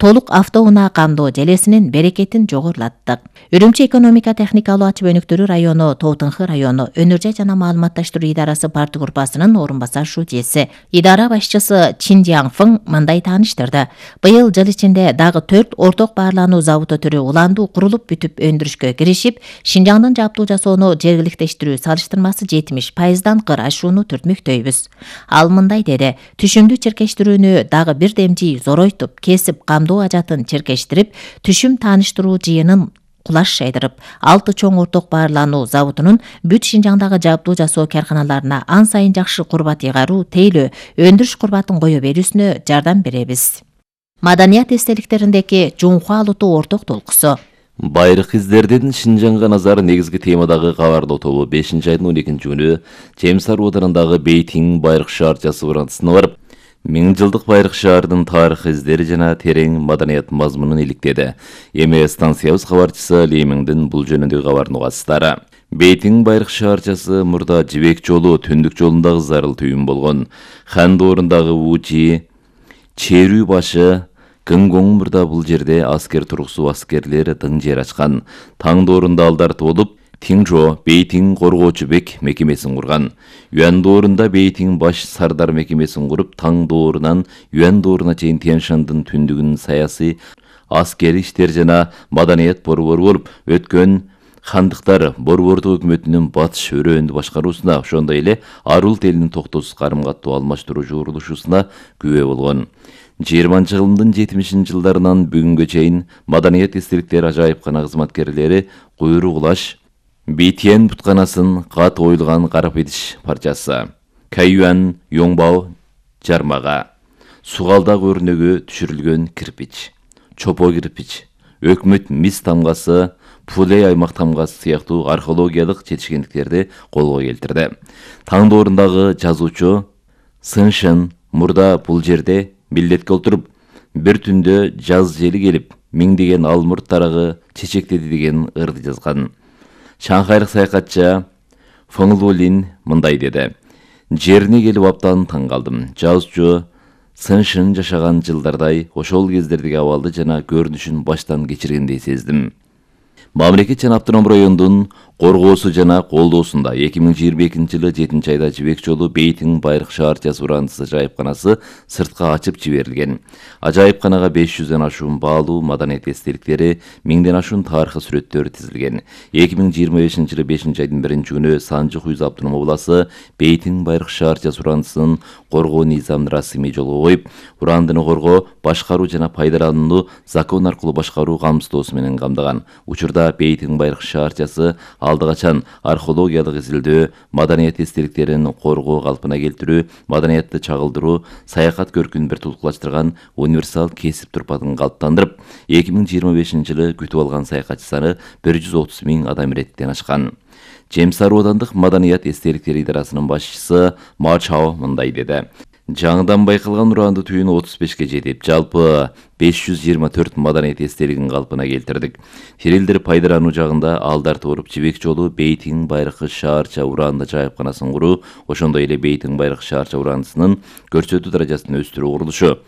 толук автоунаа камдоо желесинин берекетин жогорулаттык. Үрүмчү экономика техникалуу ачып өнүктүрүү району, Тоотынхы району Өнөр жай жана маалыматташтыруу идарасы парты группасынын орун басар шужеси. Идара башчысы Чин Жиаңфың мындай тааныштырды. Быйыл жыл ичинде дагы 4 орток баарлануу заводу түрү уланду курулуп бүтүп өндүрүшкө киришип, Шинжаңдын жабдуу жасоону жергиликтештирүү салыштырмасы 70%дан кыр ашууну түртмөктөйбүз. Ал мындай деди: түшүмдү чиркештирүүнү дагы бир демжи зоройтуп, кесип камдоо ажатын чиркештирип, түшүм тааныштыруу жыйынын кулаш жайдырып, 6 чоң орток баарлануу заводунун бүт Шинжаңдагы жабдуу жасоо карканаларына ан сайын жакшы курбат ыйгаруу, тейлөө, өндүрүш курбатын кое берүүсүнө жардам беребиз. Маданият эстеликтериндеги Жунхуа Алутуу орток толкусу. Байрак издердин Шинжаңга назары негизги темадагы кабардоо тобу 5-айдын 12 күнү Темсар оодарындагы Бейтиң байрак шаарчасы урантысына барып, 1000 жылдык байрак шаардын тарых издери жана терең маданият мазмунун иликтеди. Эми станциябыз кабарчысы Леймиңдин бул жөнүндөгү кабарын угасыздар. Бейтиң байрак шаарчасы мурда Жибек жолу түндүк жолундагы зарыл түйүн болгон. Хан доорундагы Учи, Черүү башы, Кынгоң мурда бул жерде аскер тургусу аскерлер дың жер ачкан. Таң доорунда алдарты болуп, Тиңжо Бейтиң коргоочу бек мекемесин курган. Юан доорунда Бейтиң баш сардар мекемесин куруп, Таң доорунан Юан дооруна чейин Тянь-Шандын түндүгүнүн саясий, аскери иштер жана маданият борбору болуп, өткөн хандыктар борбордук өкмөтүнүн батыш өрөөндү башкаруусуна, ошондой эле Арулт элинин токтосуз карым-каттоо алмаштыруу журулушусуна күбө болгон. 20-жылдын 70-жылдарынан бүгүнгө чейин маданият эстеликтер ажайыпкана кызматкерлери куйрук улаш, Битиен бутканасын кат оюлган карап идиш парчасы, Кайюан Йоңбао жармага, Сугалдак өрнөгү түшүрүлгөн кирпич, Чопо кирпич, Өкмөт мис тамгасы, Пулей аймак тамгасы сыяктуу археологиялык жетишкендиктерди колго келтирди. Таң доорундагы жазуучу Сыншын мурда бул жерде милдетке отуруп, бир түндө жаз жели келип, миңдеген алмурт тарагы чечектеди деген ырды жазган. Шанхайлык саякатчы Фыңлулин мындай деди: жерине келип аптан таң калдым. Жазуучу Сыншын жашаган жылдардай ошол кездердеги абалды жана көрүнүшүн баштан кечиргендей сездим. Мамлекет жана автоном райондун коргоосу жана колдоосунда 2022-жылы 7-айда Жибек жолу Бейтиң байрак шаарчасы урантысы ажайыпканасы сыртка ачып жиберилген. Ажайыпканага 500дөн ашуун баалуу маданият эстеликтери, 1000ден ашуун тарыхый сүрөттөр тизилген. 2025-жылы 5-айдын 1-күнү Санжы Хуйза автоном обласы Бейтиң байрак шаарчасы урантысын коргоо низамын расмий жолго коюп, урандыны коргоо, башкаруу жана пайдаланууну закон аркылуу башкаруу камсыздоосу менен камдаган. Учурда Бейтиң байрак шаарчасы алды качан археологиялык изилдөө, маданият эстеликтерин коргоо калпына келтирүү, маданиятты чагылдыруу, саякат көркүн бир тулкулаштырган универсал кесип турпатын калыптандырып, 2025-жылы күтүп алган саякатчы саны 130 000 адам иреттен ашкан. Темсар оодандык маданият эстеликтери идарасынын башчысы Ма Чао мындай деди: жаңыдан байкалган уранды түйүн 35ке жетип, жалпы 524 маданият эстелигин калпына келтирдик. Терилдер пайдалануу жагында алдарты болуп, Жибек жолу Бейтиң байрак шаарча уранды жайыпканасын куруу, ошондой эле Бейтиң байрак шаарча урандысынын көрсөтүү даражасын өстүрүү курулушу,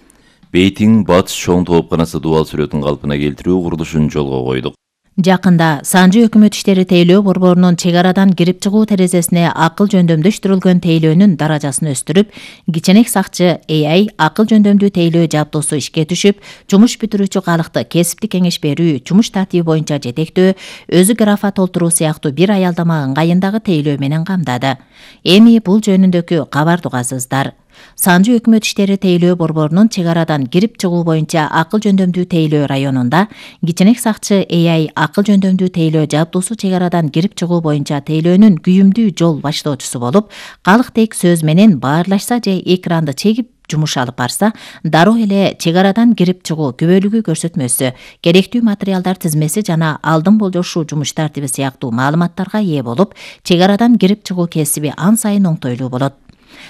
Бейтиң батыш чоң тоопканасы дубал сүрөтүн калпына келтирүү курулушун жолго койдук. Жакында Санжы өкмөт иштери тейлөө борборунун чек арадан кирип чыгуу терезесине акыл жөндөмдөштүрүлгөн тейлөөнүн даражасын өстүрүп, кичинек сакчы AI акыл жөндөмдүү тейлөө жабдуусу ишке түшүп, жумуш бүтүрүүчү калыкты кесиптик кеңеш берүү, жумуш тартиби боюнча жетектөө, өзү графа толтуруу сыяктуу бир аялдама ыңгайындагы тейлөө менен камдады. Эми бул жөнүндөгү кабарды угасыздар. Санжы өкмөт иштери тейлөө борборунун чек арадан кирип чыгуу боюнча акыл жөндөмдүү тейлөө районунда кичинек сакчы AI акыл жөндөмдүү тейлөө жабдуусу чек арадан кирип чыгуу боюнча тейлөөнүн күйүмдүү жол баштоочусу болуп, калыктек сөз менен баарлашса же экранды чегип жумуш алып барса, дароо эле чек арадан кирип чыгуу күбөлүгү көрсөтмөсү, керектүү материалдар тизмеси жана алдын болжошуу жумуш тартиби сыяктуу маалыматтарга ээ болуп, чек арадан кирип чыгуу кесиби ан сайын оңтойлуу болот.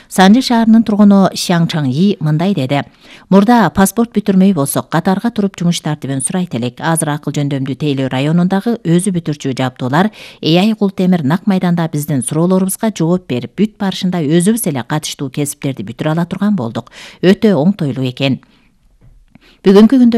Санжы шаарынын тургуну Шяң Чаңи мындай деди: мурда паспорт бүтүрмөй болсок, катарга туруп жумуш тартибин сурайт элек. Азыр акыл жөндөмдүү тейлөө районундагы өзү бүтүрчү жабдуулар AI Култемир нак майданда биздин суроолорубузга жооп берип, бүт барышында өзүбүз эле катыштуу кесиптерди бүтүрө ала турган болдук. Өтө оңтойлуу экен. Бүгүнкү күндө